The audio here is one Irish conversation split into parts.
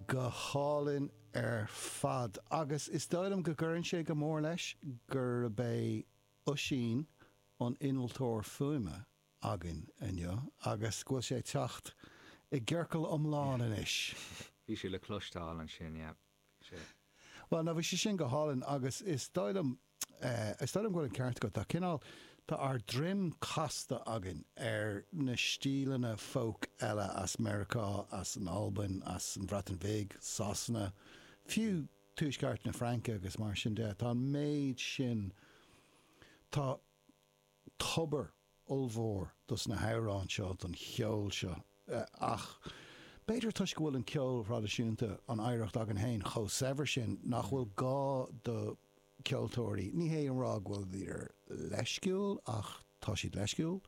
Go hálainn ar fad. Agus is dóigh liom go gcuireann sé go mór leis gurb é Oisín an innealtóir fuaime againn inniu agus go bhfuil sé ag teacht i gciorcal iomlán anois. Bhí sé le cloisteáil ansin, yeah. Bhí sé. Bhuel, no, bhí sé sin go hálainn agus is dóigh liom, is dóigh liom go bhfuil an ceart agat. Tá cineál, tá ár droim casta againn ar na stíleanna folk eile as Meiriceá, as an Albain, as an Bhreatain Bhig, Sasana, fiú Tuaisceart na Fraince agus mar sin de. Tá an méid sin, tá tobar ollmhór dos na hamhráin seo, don cheol seo. Ach b'fhéidir toisc go bhfuil an ceol thraidisiúnta, an oidhreacht againn féin, chomh saibhir sin, nach bhfuil gá do cheoltóirí, ní hé a rá go bhfuil siad leisciúil ach tá siad leisciúil,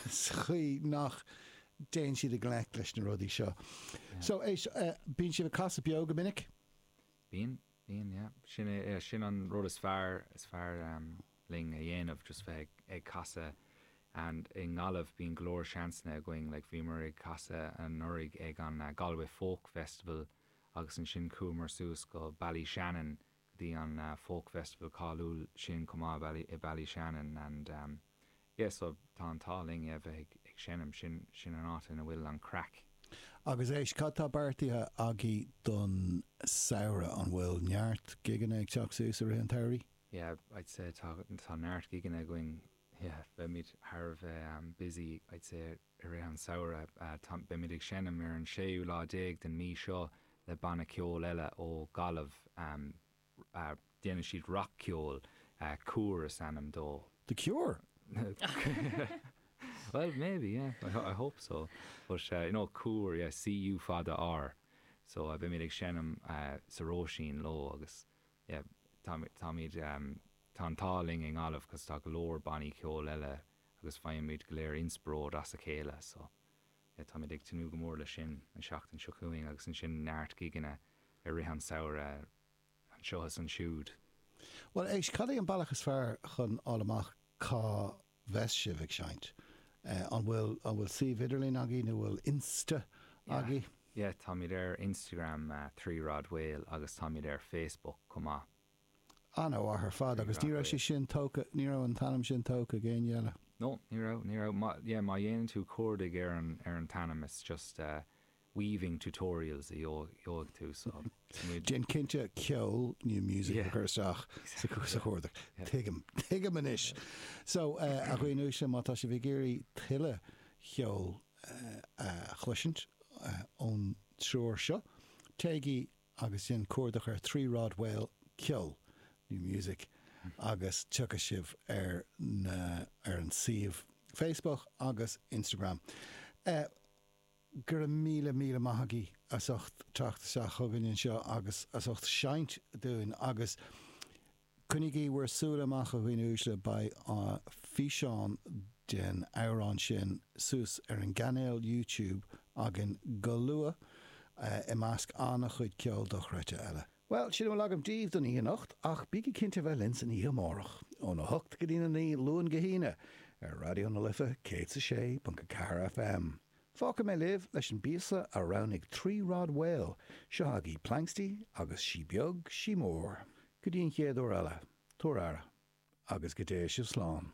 sa chaoi nach dtéann siad i ngleic leis na rudaí seo. So, éist, bíonn sibh ag casadh beo go minic? Bíonn, bíonn, yeah. Sin é, sin an rud is fearr, is fearr linn a dhéanamh, just bheith ag casadh and i nGaillimh bíonn go leor seansanna againn, like bhíomar ag casadh anuraidh ag an Galway Folk Festival agus ansin chuamar suas go Ballyshannon go dtí an Folk Festival cáiliúil sin chomh maith i Ballyshannon and yeah so tá an t-ádh linn yeah bheith ag seinm, sin sin an áit ina bhfuil an craic. Agus éist, cad tá beartaithe agaibh don samhradh? An bhfuil neart gigeanna ag teacht suas i rith an tsamhraidh? Yeah, I'd say tá tá neart gigeanna againn, yeah, beimid thar a bheith busy I'd say i rith an samhradh. Tá, beimid ag seinm ar an séú lá déag den mí seo le banna ceoil eile ó Ghaillimh, déanann siad rac-cheol, Cúr is ainm dó. The Cure? Well, maybe, yeah, I hope so. But, you know, Cúr, yeah, C-U fada R. So, beimid ag seinm sa Róisín leo agus, yeah, táimid, tá an t-ádh linn i nGaillimh cos tá go leor bannaí ceoil eile agus faighimid go léir inspioráid as a chéile so yeah táimid ag tnúth go mór leis sin an seachtain seo chugainn agus ansin neart gigeanna i rith an samhradh anseo is ansiúd. Bhuel éist, cad é an bealach is fearr chun fháil amach cá bheas sibh ag seinnt? An bhfuil, an bhfuil suíomh idirlín agaibh nó bhfuil Insta agaibh? Yeah, táimid ar Instagram, Three Rod Whale, agus táimid ar Facebook chomh maith. An-mhaith ar fad, agus ní raibh sé sin tógtha, ní raibh an t-ainm sin tógtha ag éinne eile? No, ní raibh, ní raibh. Má, yeah, má dhéanann tú cuardaigh ar an, ar an t-ainm, it's just weaving tutorials a gheobhaidh tú, so tá muid. Déan cinnte ceol nó music a chur isteach sa chuardach. Tuigim, tuigim anois. So, a dhaoine uaisle, má tá sibh ag iarraidh tuilleadh cheoil a chloisint ón triúr seo, téigí agus déan cuardach ar Three Rod Whale ceol nó music agus tiocfaidh sibh ar na, ar an suíomh Facebook agus Instagram. Go raibh míle, míle maith agaibh as ucht teacht isteach chugainn anseo agus as ucht seinnt dúinn agus coinnígí bhur súile amach a dhaoine uaisle, beidh físeán den amhrán sin suas ar an gcainéal YouTube againn go luath i measc an-chuid ceol dochreidte eile. Bhuel, sin a bhfuil agam daoibh don oíche anocht, ach bígí cinnte a bheith linn san oíche amárach, óna hocht go dtína naoi, Luan go hAoine, ar Raidió na Life 106.4 FM. Fágfaidh mé libh leis an bpíosa a roghnaigh Three Rod Whale, seo agaibh Planxty agus Sí Beag, Sí Mór. Go dtí an chéad uair eile, tabhair aire, agus go dté sibh slán.